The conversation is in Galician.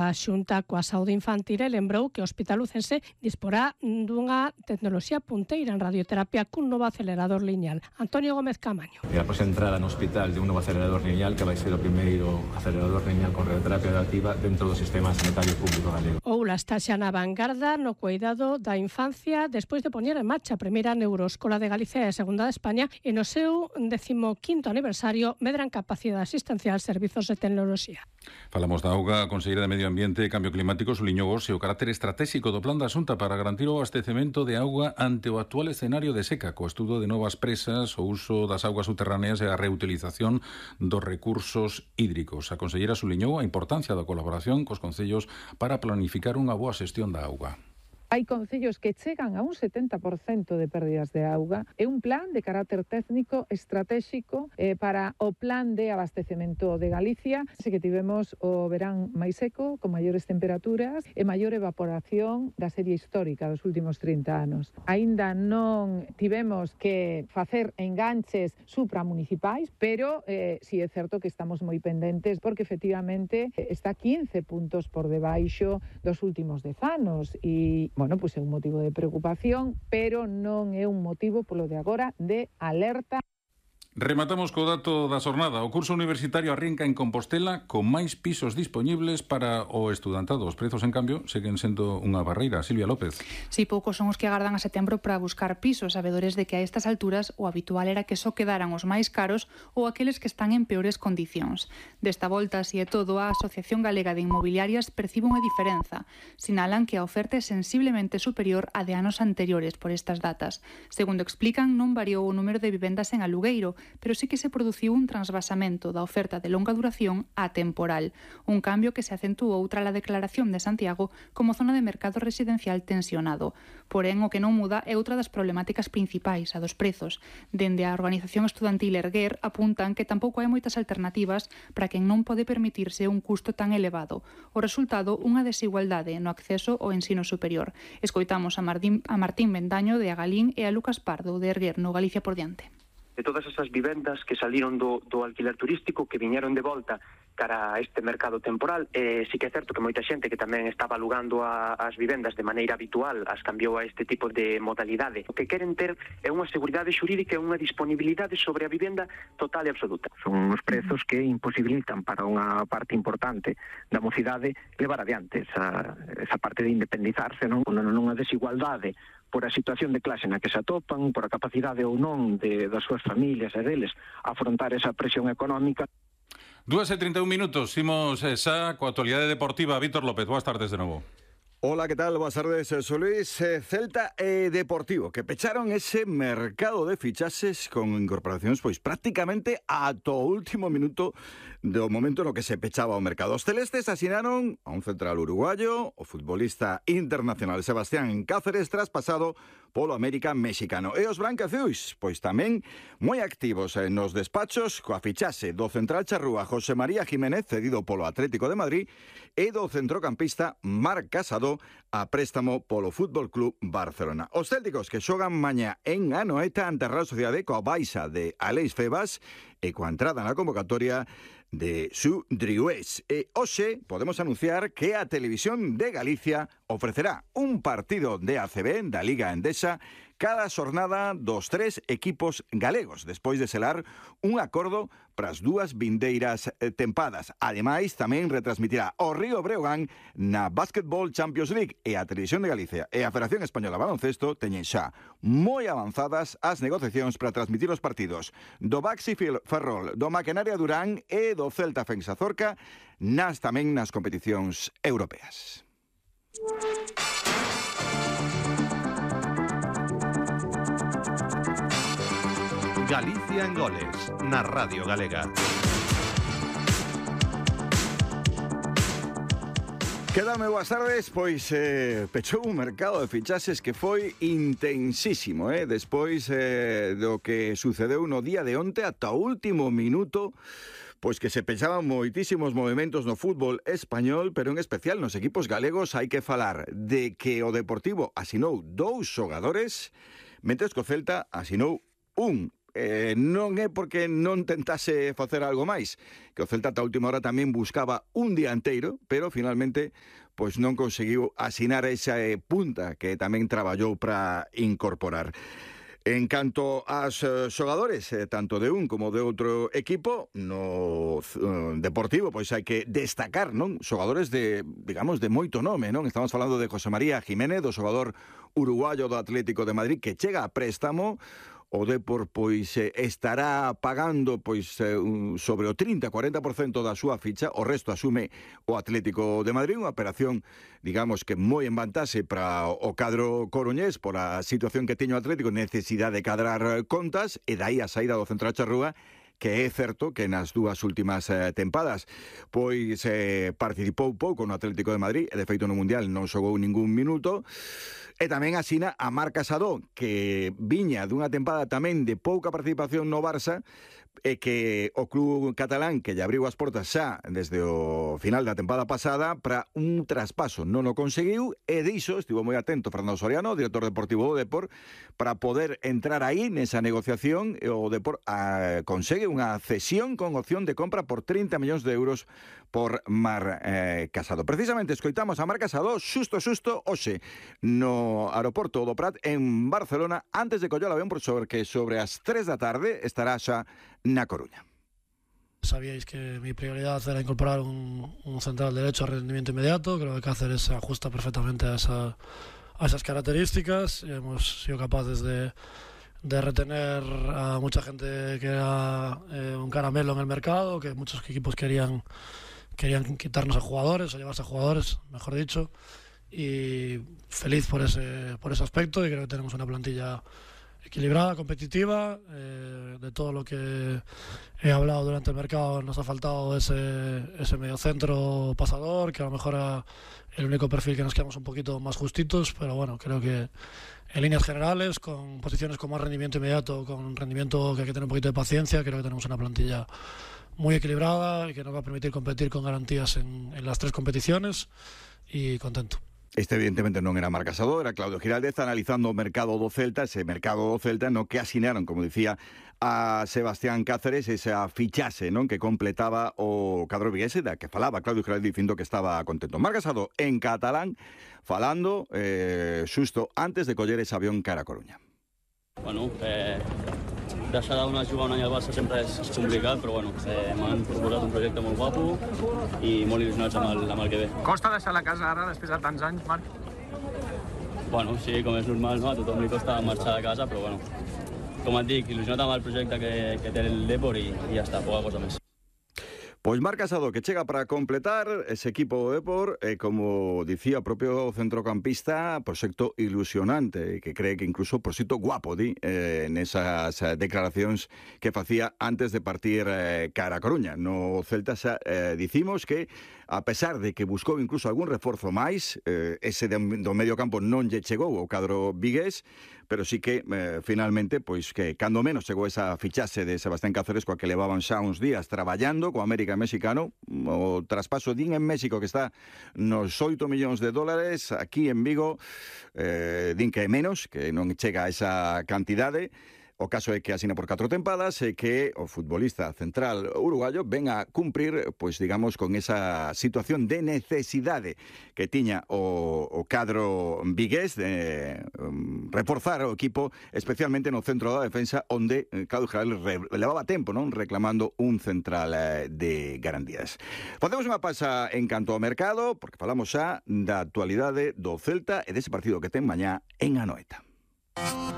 A Xunta coa Saúde Infantil lembrou que o Hospital Lucense disporá dunha tecnoloxía punteira en radioterapia cun novo acelerador lineal. Antonio Gómez Camaño. E após a entrada no hospital de un novo acelerador lineal que vai ser o primeiro acelerador lineal con radioterapia adaptiva dentro do sistema sanitario público galego. Oula está xa na vanguarda no cuidado da infancia despois de poñer en marcha a primeira Neuroescola de Galicia e a segunda de España e no seu 15º aniversario medran capacidade asistencial servizos de tecnoloxía. Falamos da auga. A Conselleira de Medio Ambiente e Cambio Climático suliñou hoxe o carácter estratégico do plan da Xunta para garantir o abastecemento de auga ante o actual escenario de seca, co estudo de novas presas, o uso das augas subterráneas e a reutilización dos recursos hídricos. A conselleira suliñou a importancia da colaboración cos concellos para planificar unha boa xestión da auga. Hai concellos que chegan a un 70% de pérdidas de auga. É un plan de carácter técnico estratégico para o plan de abastecemento de Galicia. Así que tivemos o verán máis seco, con maiores temperaturas e maior evaporación da serie histórica dos últimos 30 anos. Aínda non tivemos que facer enganches supramunicipais, pero si é certo que estamos moi pendentes porque efectivamente está 15 puntos por debaixo dos últimos 10 anos e bueno, pois é un motivo de preocupación, pero non é un motivo polo de agora de alerta. Rematamos co dato da xornada. O curso universitario arrinca en Compostela con máis pisos dispoñibles para o estudantado. Os prezos, en cambio, seguen sendo unha barreira. Silvia López. Si, poucos son os que agardan a setembro para buscar pisos, sabedores de que a estas alturas o habitual era que só quedaran os máis caros ou aqueles que están en peores condicións. Desta volta, así é todo, a Asociación Galega de Inmobiliarias percibe unha diferenza. Sinalan que a oferta é sensiblemente superior á de anos anteriores por estas datas. Segundo explican, non variou o número de vivendas en alugueiro, pero sí que se produciu un transvasamento da oferta de longa duración á temporal, un cambio que se acentuou tras a declaración de Santiago como zona de mercado residencial tensionado. Porén, o que non muda é outra das problemáticas principais, a dos prezos. Dende a organización estudantil Erguer apuntan que tampouco hai moitas alternativas para quen non pode permitirse un custo tan elevado. O resultado, unha desigualdade no acceso ao ensino superior. Escoitamos a Martín Bendaño de Agalín e a Lucas Pardo de Erguer no Galicia por diante. De todas esas vivendas que saliron do alquiler turístico, que viñeron de volta cara a este mercado temporal, sí que é certo que moita xente que tamén estaba alugando as vivendas de maneira habitual as cambiou a este tipo de modalidade. O que queren ter é unha seguridade xurídica e unha disponibilidade sobre a vivenda total e absoluta. Son os prezos que imposibilitan para unha parte importante da mocidade levar adiante esa parte de independizarse, non? Nunha desigualdade por a situación de clase na que se atopan, por a capacidade ou non das súas familias e deles afrontar esa presión económica. 2:31 minutos, imos xa coa actualidade deportiva. Víctor López, boas tardes de novo. Hola, ¿qué tal? Buenas tardes, soy Luis. Celta e Deportivo, que pecharon ese mercado de fichaxes con incorporacións pois prácticamente ata o último minuto do momento no que se pechaba o mercado. Os celestes asinaron a un central uruguayo, o futbolista internacional Sebastián Cáceres, traspasado polo América mexicano. E os brancazuis, pois tamén moi activos nos despachos coa fichaxe do central charrúa José María Jiménez, cedido polo Atlético de Madrid, e do centrocampista Marc Casado, a préstamo polo Fútbol Club Barcelona. Os célticos que xogan mañá en Anoeta ante a Real Sociedade coa baixa de Aleix Febas e coa entrada na convocatoria de Su Driués. E hoxe podemos anunciar que a Televisión de Galicia ofrecerá un partido de ACB da Liga Endesa cada xornada dos 3 equipos galegos, despois de selar un acordo para as dúas vindeiras tempadas. Ademais, tamén retransmitirá o Río Breogán na Basketball Champions League, e a Televisión de Galicia e a Federación Española de Baloncesto teñen xa moi avanzadas as negociacións para transmitir os partidos do Baxi Ferrol, do Maquinaria Durán e do Celta Fensa Zorca, tamén nas competicións europeas. Galicia en goles, na Radio Galega. Quedame boas tardes, pois pechou un mercado de fichaxes que foi intensísimo, despois do que sucedeu no día de onte ata o último minuto, pois que se pechaban moitísimos movimentos no fútbol español, pero en especial nos equipos galegos. Hai que falar de que o Deportivo asinou 2 xogadores, mentres que o Celta asinou un. non é porque non tentase facer algo máis, que o Celta ata a última hora tamén buscaba un dianteiro, pero finalmente pois non conseguiu asinar esa punta que tamén traballou para incorporar. En canto aos xogadores, tanto de un como de outro equipo, no Deportivo, pois hai que destacar, non? Xogadores de, digamos, de moito nome, non? Estamos falando de José María Jiménez, do xogador uruguayo do Atlético de Madrid, que chega a préstamo. O Depor pois estará pagando pois sobre o 30-40% da súa ficha, o resto asume o Atlético de Madrid, unha operación, digamos que moi en vantaxe para o cadro coruñés por a situación que teño o Atlético, necesidade de cadrar contas, e dai a saída do centro da Charrúa, que é certo que nas dúas últimas tempadas pois participou pouco no Atlético de Madrid, e de feito no Mundial non xogou ningún minuto. E tamén asina a Marc Casadó, que viña dunha tempada tamén de pouca participación no Barça, e que o club catalán que lle abriu as portas xa desde o final da tempada pasada para un traspaso non o conseguiu, e diso estivo moi atento Fernando Soriano, director deportivo do Depor, para poder entrar aí nesa negociación. O Depor consegue unha cesión con opción de compra por 30 millóns de euros por Marc Casadó. Precisamente escoitamos a Marc Casadó xusto hoxe no aeroporto do Prat en Barcelona, antes de coller o avión, porque sobre as 3 da tarde estará xa na Coruña. Sabíais que mi prioridad era incorporar un central derecho a rendimiento inmediato. Creo que Cáceres se ajusta perfectamente a esas características. Hemos sido capaces de retener a mucha gente que era un caramelo en el mercado, que muchos equipos querían quitarnos a jugadores, o llevarse a jugadores, mejor dicho, y feliz por ese aspecto, y creo que tenemos una plantilla equilibrada, competitiva. De todo lo que he hablado durante el mercado, nos ha faltado ese mediocentro pasador, que a lo mejor era el único perfil que nos quedamos un poquito más justitos, pero bueno, creo que en líneas generales, con posiciones con más rendimiento inmediato, con rendimiento que hay que tener un poquito de paciencia, creo que tenemos una plantilla muy equilibrada y que nos va a permitir competir con garantías en las 3 competiciones, y contento. Este evidentemente non era Marc Casadó, era Claudio Giraldez analizando o mercado do Celta, ese mercado do Celta no que asinaron, como dicía, a Sebastián Cáceres, esa fichase, non, que completaba o cadro viguese, da que falaba Claudio Giraldez dicindo que estaba contento. Marc Casadó en catalán falando xusto antes de coller ese avión cara a Coruña. Bueno, deixar d'una jugar un any al Barça sempre és complicat, però bueno, m'han proposat un projecte molt guapo i molt il·lusionats amb el que ve. Costa deixar la casa ara després de tants anys, Marc? Bueno, sí, com és normal, no? A tothom li costa marxar de casa, però bueno, com et dic, il·lusionat amb el projecte que té el Depor i ja està, poca cosa més. Pois Marc Casadó, que chega para completar ese equipo do Depor, como dicía o propio centrocampista, proxecto ilusionante, que cree que incluso proxecto guapo, nesas declaracións que facía antes de partir cara a Coruña. No Celta xa dicimos que, a pesar de que buscou incluso algún reforzo máis, ese do medio campo non lle chegou ao cadro vigués, pero sí que finalmente, pois que cando menos chegou esa fichase de Sebastián Cáceres, coa que levaban xa uns días traballando co América mexicano, o traspaso din en México que está nos 8 millóns de dólares, aquí en Vigo din que é menos, que non chega a esa cantidade. O caso é que asina por 4 tempadas e que o futbolista central uruguayo ven a cumprir, pois digamos, con esa situación de necesidade que tiña o cadro vigués de reforzar o equipo, especialmente no centro da defensa, onde Claudio Giraldez levaba tempo, non, reclamando un central de garantías. Facemos unha pausa en canto ao mercado, porque falamos xa da actualidade do Celta e dese partido que ten mañá en Anoeta.